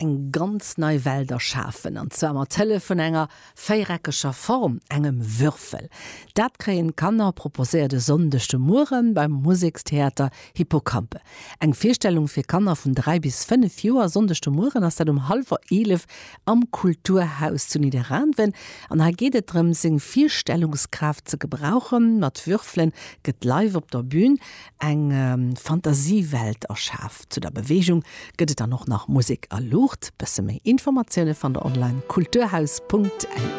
Eng ganz nei Welt erschafen, an zwar mat Hëllef vun enger véiereckeger Form, engem Würfel. Dat kréien d'Kanner proposéiert e Sonndeg de Mueren beim Musekstheater Hippocampe. Eng Virstellung fir Kanner vun 3 bis 5 Joer. Sonndeg de Mueren ass dat um hallwer 11 am Kulturhaus zu Nidderaanwen. An hei geet et drëm, seng Virstellungskraaft ze gebrauchen. Mat Würfelen gëtt live op der Bün eng Fantasiewelt erschaf. Zu der Beweegung gëtt et dann och nach Musek a Luucht. Bësse méi Informatioune fannt der online kulturhaus.lu.